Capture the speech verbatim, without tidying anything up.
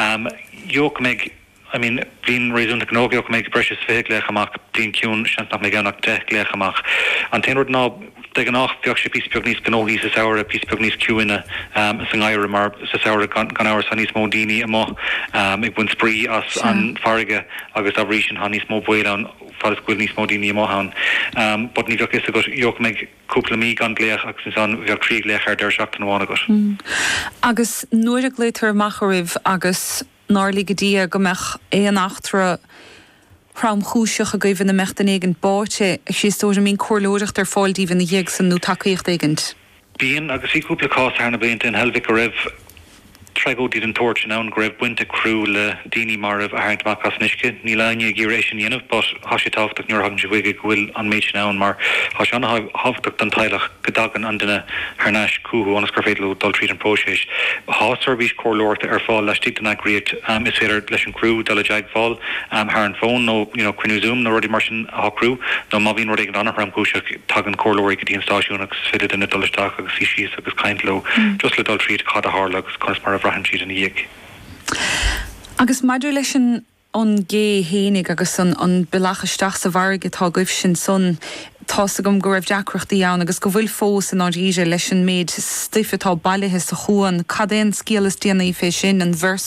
Um, Gheobhaidh go mbeidh I mean bliain réasúnta gnóthach go mbeidh breis is fiche glaoch amach bliain ciúin seans nach mbeidh ann ach deich glaoch amach. An t-aon rud ná de ghnáth bheadh sé píosa beag níos gnóthaí sa samhradh píosa beag níos ciúine um, sa ngeimhreadh mar sa samhradh gan gan amhras tá níos mó daoine amuigh um, ag baint spraoi as an farraige agus dá bhrí sin tá níos mó baol ann fad is go bhfuil níos mó daoine amuigh ann. Um, but ní bheadh fhios agat gheobhaidh go mbeidh cúpla mí gan glaoch agus ansan bheadh trí glaoch ar deireadh seachtaine amháin agat. Mm. Agus nuair a ghlaotar amach oraibh agus nár lige Dia go mbeadh aon eachtra thromchúiseach agaibh ina mbeadh duine éigin báite a Chríostóir an mbíonn comhairleoireacht ar fáil daoibh ina dhiaidh san nó tacaíocht éigint. Bíonn agus bhí cúpla cás thar na blianta in Heilbhic go raibh tragóidí den tsórt sin ann go raibh baint ag criú le daoine marbh a tharraingt amach as an uisce. Níl éinne ag iarraidh é sin a dhéanamh, but tá sé tábhachtach nuair a thagann sé chuige go bhfuil an méid sin ann mar tá sé an-thábhachtach don teaghlach go dtagann an duine thar n-ais chucu ionas gur féidir leo dul tríd an próiseas. Tá seirbhís comhairleoireachta ar fáil laistigh den eagraíocht um, is féidir leis an criú dul i dteagmháil um, thar an fón nó you know, cruinniú Zoom nó rudaí mar sin a shocrú nó má bhíonn rud éigin an-thromchúiseach tagann comhairleoirí go dtí an stáisiún agus is féidir duine dul isteach agus suí síos agus caint leo mm. just le dul tríd cad a tharla agus conas mar a bhraitheann siad ina dhiaidh. Agus maidir leis an an gcé fhéinig agus an, an bealach isteach sa bhfarraige atá agaibh sin san tá's agam go raibh deacrachtaí ann agus go bhfuil fós in áiríre leis an méid stuif atá bailithe sa chuan, Cad é an scéal is déanaí fé sin an bhfuil